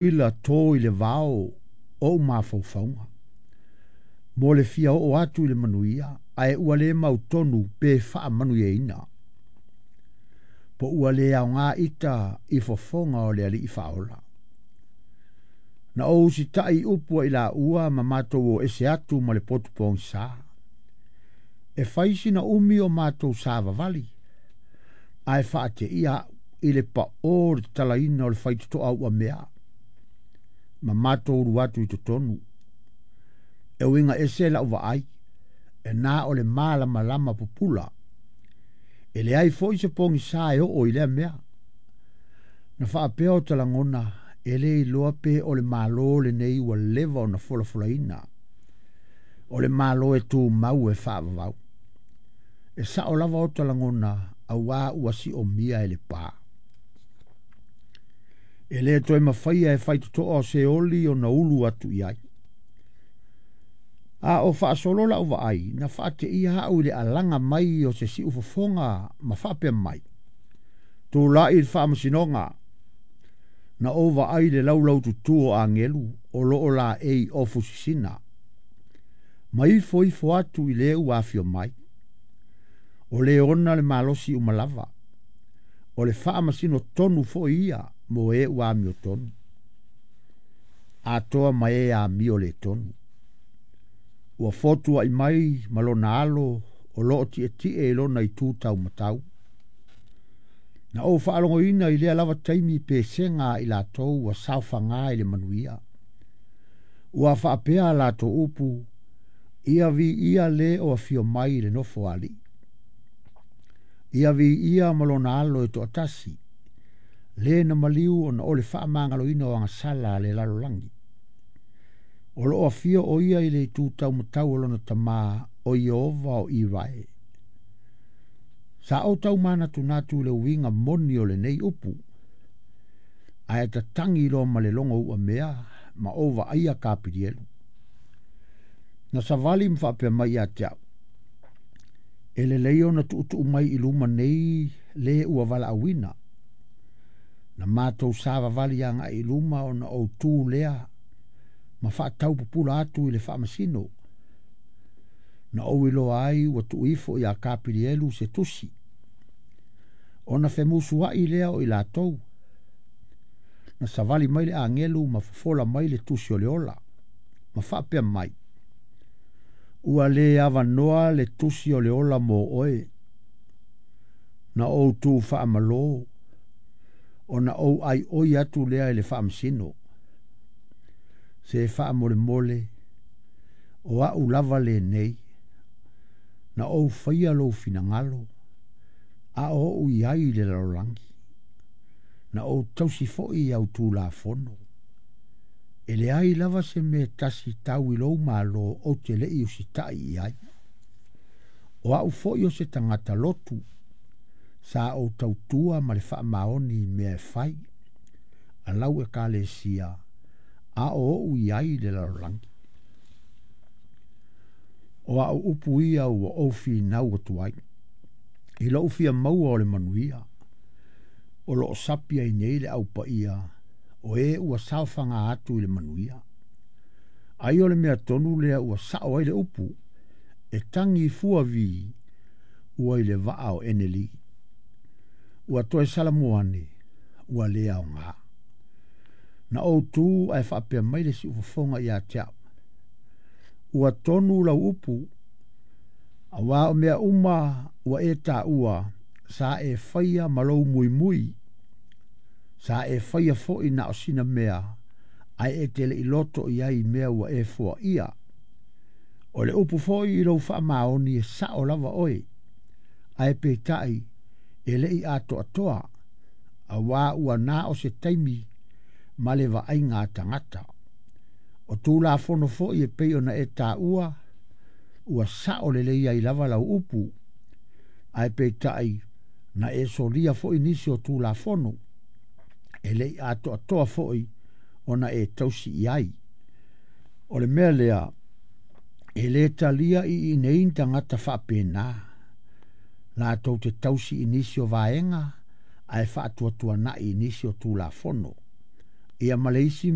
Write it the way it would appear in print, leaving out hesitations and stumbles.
Ila tō i le vao ou mafaufauga mo le fia oo atu i le manuia, ae ua le mautonu pe faamanuiaina. Po ua le aoga ita i fofoga o le Alii Faaola. Na ou usitaʻi i upu a i laua ma matou o ese atu ma le potu pogisa. E fai sina umi o matou savavali, ae faateia au i le paʻō o le tatalaina o le faitotoa uamea ma matou ulu atu i totonu. E uiga ese lau vaai, e na o le malamalama pupula. E leai foi se pogisa e oo i lea mea. Na faapea o talagona e le iloa pe o le Malo lenei ua leva ona folafolaina. O le Malo e tumau e faavavau. E sao lava o talagona auā ua siomia e le pā. E le toe mafaia e faitotoa o Seoli ona ulu atu i ai. A o faasolo lau vaai, na faateia au i le alaga mai o se siufofoga ma faapea mai, Tulai i le faamasinoga, na ou vaai i le laulaututu o agelu o lo o laei ofu sisina, ma ifo ifo atu i le ua afio mai. O le ona le malosi uma lava, o le faamasino tonu foi ia mo e ua amiotonu, atoa ma e amio le tonu. Ua fotuaʻi mai ma lona alo o lo o tietie i lona itu taumatau. Na ou faalogoina i lea lava taimi pesega a i latou ua saofaga i le manuia. Ua faapea a latou upu, Ia viia le o afio mai i le nofo a alii. Ia viia ma lona alo e toatasi, le na maliu ona o le faamagaloina o agasala a le lalolagi. O lo o afio o ia i le itu taumatau o lona Tama o Ieova o Irae. Sa ou tau manatunatu i le uiga moni o lenei upu, ae tatagi loa ma le logo uamea ma ou vaaia Kapilielu. Na savali ma faapea mai ia te au, E lelei ona tuutuu mai i luma nei le ua valaauina. Na matou savavali agai i luma ona ou tu lea ma faataupupula atu i le faamasino. Na ou iloa ai ua tuu ifo iā Kapilielu se tusi, ona femusuaʻi lea o i latou. Na savali mai le agelu ma fofola mai le tusi o le ola, ma faapea mai, Ua le avanoa le tusi o le ola mo oe. Na ou tu faamalō, ona ou aioi atu lea i le faamasino. Se faamolemole, o au lava lenei, na ou faia lou finagalo, a o ou i ai i le lalolagi. Na ou tausi foi i au Tulafono. E leai lava se mea tasi tau i lou Malo ou te le i usitaʻi i ai. O au foi o se tagata lotu, sa ou tautua ma le faamaoni i mea e fai a lau Ekalesia a o ou i ai i le lalolagi. O au upu ia ua ou finau atu ai, i lou fia maua o le manuia, o lo o sapi ai nei le Au Paia o e ua saofaga atu i le manuia. Ai o le mea tonu lea ua sao ai le upu, e tagi fua vi ua i le vaa o Eneli. Ua toe salamu ane, ua le aoga. Na ou tu ae faapea mai le siufofoga ia te au, Ua tonu lau upu, auā o mea uma ua e taua sa e faia ma lou muimui, sa e faia foi na o sina mea ae e te le i loto i ai i mea ua e foaia. O le upu foi i lou faamaoni e sao lava oe, ae peitai e le i atoatoa, auā ua na o se taimi ma le vaaiga a tagata. O Tulafono foi e pei ona e taua, ua sao lelei ai lava lau upu, ae peitai na e solia foi nisi o Tulafono, e le i atoatoa foi ona e tausi i ai. O le mea lea, e le talia i inei ni tagata faapena, latou te tausi i nisi o vaega ae faatuatuanai i nisi o Tulafono. Ia ma le isi